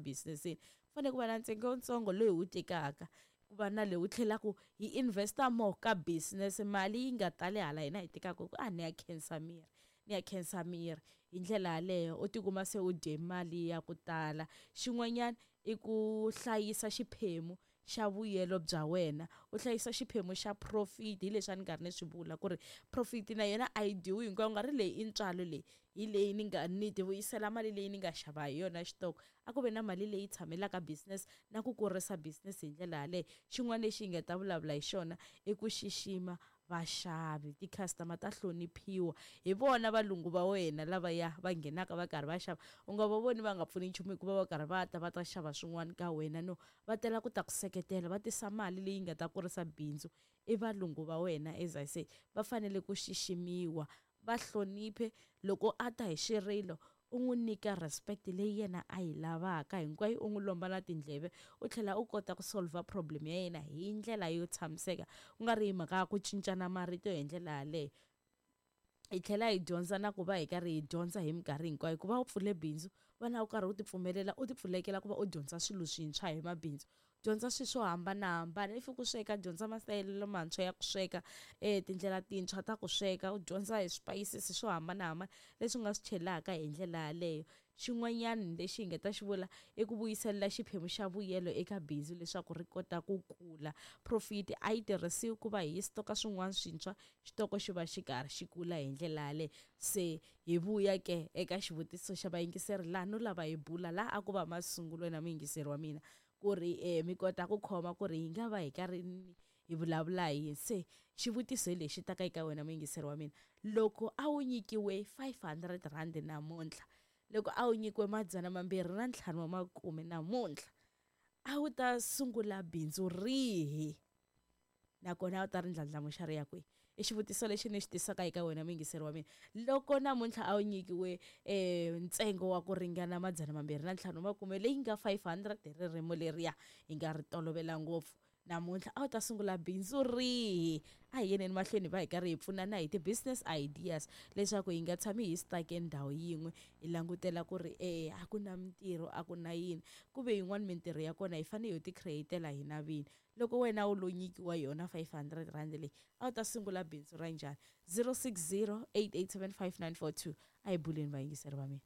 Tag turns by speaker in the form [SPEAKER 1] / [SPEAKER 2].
[SPEAKER 1] business-ini. Ku fanele ku va na ntsengo wutsongo lowu hi wu tekaka, ku va na leyi wu tlhelaku hi invest-a more ka business, mali yi nga tali hala hina hi tekaka ku a ni ya khensa miri, ni ya khensa miri. Hi ndlela yaleyo u tikuma se u dye mali ya ku tala. Xin'wanyana i ku hlayisa xiphemu xa vuyelo bya wena, u hlayisa xiphemu xa profit, hi leswi a ni karhi ni swi vula ku ri profit na yona a yi dyiwi hinkwayo, u nga ri leyi i ntswalo leyi hi leyi ni nga ni ti vuyisela mali leyi ni nga xava hi yona xitoko. A ku ve na mali leyi tshamelaka business na ku kurisa business hi ndlela yaleyo. Xin'wana lexi hi nga ta vulavula hi xona i ku xixima vaxavi, ti-customer ta hloniphiwa, hi vona valungu va wena lavaya va nghenaka va karhi va xava. U nga va voni va nga pfuni nchumu hikuva va karhi va ta va ta xava swin'wana ka wena, no, va tela ku ta ku seketela, va tisa mali leyi nga ta kurisa bindzu. I valungu va wena, as I say, va fanele ku xiximiwa, va hloniphe. Loko a ta hi xirilo u n'wi nyika respect leyi yena a yi lavaka hinkwayo, u n'wi lomba na tindleve, u tlhela u kota ku solver problem ya yena hi ndlela yo tshamiseka, ku nga ri hi mhaka ya ku cincana marito hi ndlela yaleyo. Hi tlhela hi dyondza na ku va hi karhi hi dyondza hi minkarhi hinkwayo. Ku va u pfule bindzu, va na u karhi u ti pfumelela, u ti pfulekela ku va u dyondza swilo swintshwa hi mabindzu, dyondza swilo swo hambanahambana. If ku sweka, dyondza masayelo lamantshwa ya ku sweka, tindlela tintshwa ta ku sweka, u dyondza hi swipayisisi swo hambanahambana leswi u nga swi chelaka hi ndlela yaleyo. Xin'wanyana lexi hi nga ta xi vula i ku vuyiselela xiphemu xa vuyelo eka bindzu leswaku ri kota ku kula. Profit a yi tirhisiwi ku va hi stoka swin'wana swintshwa, xitoko xi va xi karhi xi kula hi ndlela yaleyo. Se hi vuya ke eka xivutiso xa vayingiseri laha no lava hi bula laha a ku va masungulo na muyingiseri wa mina, ku ri mi kota ku khoma ku ri hi nga va hi karhi hi vulavula hi yini. Se xivutiso hi lexi taka eka wena muyingiseri wa mina, loko a wu nyikiwe 500 rand namuntlha, loko a wu nyikiwe 250 wa makume namuntlha, a wu ta sungula bindzu rihi nakona a wu ta ri ndlandlamuxa ri ya kwihi? I xivutiso lexi ni xi tisaka eka wena muyingiseri wa mina. Loko namuntlha a wu nyikiwe ntsengo wa ku ringana 250 makume leyi nga 500 hi ririmi leriya hi nga ri tolovela ngopfu, namuntlha a wu ta sungula bindzu rihi? A hi yeneni mahlweni va hi karhi hi pfunana hi ti-business ideas leswaku hi nga tshami hi stuck-e ndhawu yin'we hi langutela ku ri a ku na mintirho, a ku na yini. Ku ve yin'wani mintirho ya kona hi fanele hi ti create-ela hina vini. Loko wena u lo nyikiwa yona 500 rand leyi, a wu ta sungula bindzu ra njhani? 060 887 5942. A hi buleni vayingiseri va mina.